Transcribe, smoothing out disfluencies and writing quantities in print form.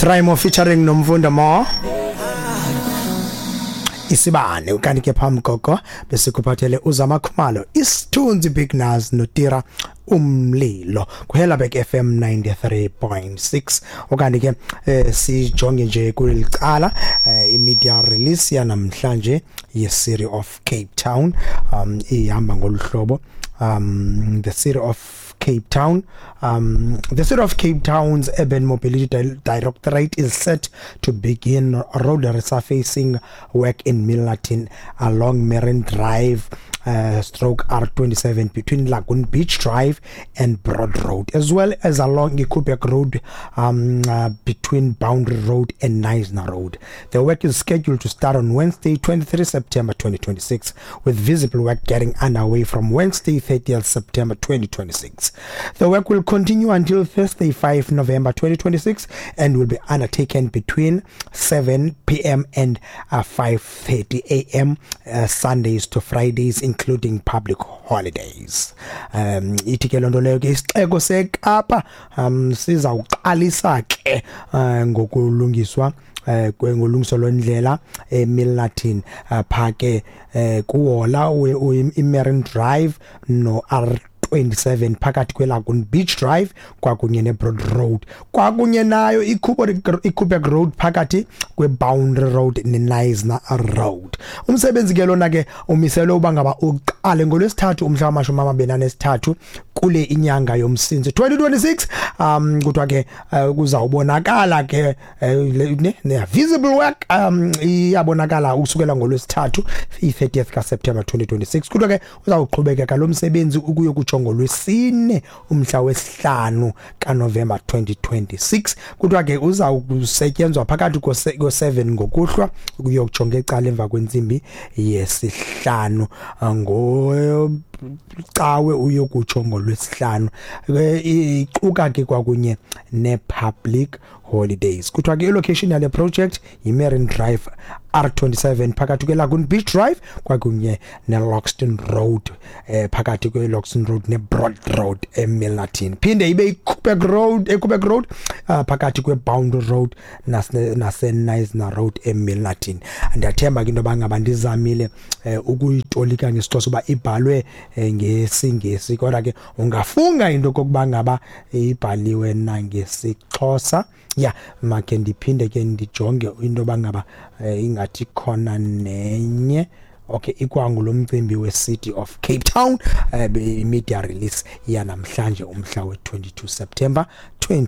Rhymo featuring Nomfundo Mo. Isibane ukanti ke phambi koko besikuphathele uZama Khumalo, Isithunzi, Big Naz noTira Umlilo kuHelabek FM 93.6. Ukanti ke sijonge nje kulicala i-media release yanamhlanje ye-City of Cape Town, ihamba ngolu hlobo: The City of Cape Town's Urban Mobility Directorate is set to begin road resurfacing work in Milnerton along Marine Drive stroke R27 between Lagoon Beach Drive and Broad Road, as well as along Koeberg Road between Boundary Road and Knysna Road. The work is scheduled to start on Wednesday, 23 September 2026, with visible work getting underway from Wednesday, 30th September 2026. The work will continue until Thursday, 5 November 2026, and will be undertaken between 7 p.m. and 5:30 a.m. Sundays to Fridays, including public holidays. Ithi ke loo nto leyo ke isixeko seKapa sizawuqalisa ke ngokulungiswa ngolungiso lwendlela eMilnerton, pha ke kuhola iMarine Drive no R27 phakathi kweLagoon Beach Drive kwakunye neBroad Road, kwakunye nayo iKoeberg Road phakathi kweBoundary Road neKnysna Road. Umsebenzi ke lona ke umiselwe uba ngaba uqale ngolwesithathu umhla wama-23 kule inyanga yoMsintsi 2026. Kuthiwa ke kuzawubonakala ke ne visible work iyabonakala ukusukela ngolwesithathu i-30th kaSeptember 2026. Kuthiwa ke uzawuqhubekeka lo msebenzi ukuyokutsho ngolwesine umhla wesihlanu kaNovember 2026. Kuthiwa ke uzawusetyenzwa phakathi ko-7 ngokuhlwa ukuyokutsho ngecala emva kwentsimbi yesihlanu ngocawe uyokutsho ngolwesihlanu, iquka ke kwakunye ne-public holidays. Kuthiwa ke ilocation yale project yi-Marine Drive R27 phakathi kwe-Lagoon Beach Drive kwakunye ne-Loxton Road, phakathi kwe-Loxton Road ne-Broad Road eMilnerton, phinde ibe iKoeberg Road, eKoeberg Road phakathi kwe-Boundary Road nase-Knysna Road eMilnerton. Ndiyathemba ke into yoba ngaba ndizamile ukuyitolika ngesiXhosa uba ibhalwe ngesiNgesi, kodwa ke ungafunga into kokuba ngaba ibhaliwe nangesiXhosa. Ya, makhe ndiphinde ke ndijonge into yoba ngaba ingathi khona nenye. Okay, ikwangulo mcimbi we-City of Cape Town, media release yanamhlanje umhla we-22 September.